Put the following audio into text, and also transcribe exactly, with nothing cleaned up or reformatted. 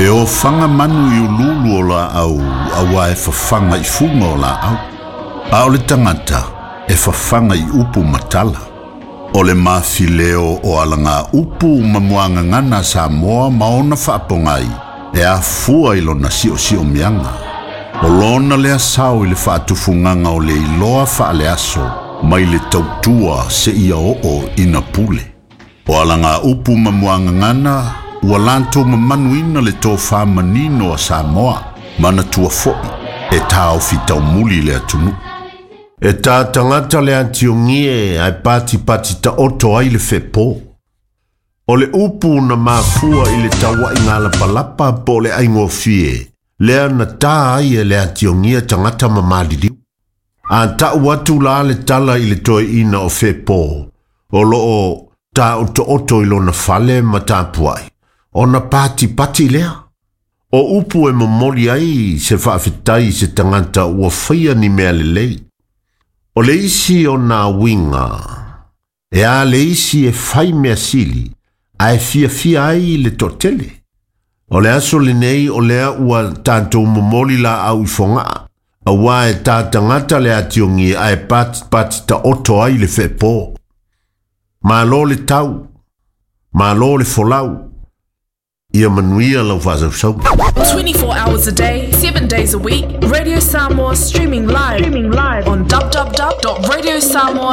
E ofaga manu i uluulu o laau auā e fafaga i fuga o laau. A o le tagata e fafaga i upu ma tala. O le mafileo o alaga upu ma muagagana a Samoa ma ona faapogai e afua i lona siosiomiaga. O lona lea sao i le faatufugaga o le iloa faaleaso mai le tautua seia oo ina pule. O alaga upu ma muagagana ua latou mamanuina le tofā manino a Samoa, manatua fo'i e taofi taumuli le atunuu. E tā tagata le atiogie ae patipati taoto ai le fepo. O le upu na mafua i le tauaiga lapalapa po o le aigofie, lea na tā ai e le atiogia tagata ma maliliu. A ta'u atu la le tala i le toeaina o Fepo, o loo taotooto i lona fale ma tapuai, ona patipati lea. O upu e momoli ai se faafetai i se tagata ua faia ni mea lelei. O le isi o nā uiga, e a le isi e fai mea sili, ae fiafia ai le toatele. O le aso lenei o lea ua tatou momoli laau i Fogaa, auā e tā tagata le atiogie ae patipati taoto ai le fepo. Malo le tau, malo le folau, ia manuia lau faasausauga. twenty-four hours a day, seven days a week. Radio Samoa streaming live, streaming live on w w w dot radio samoa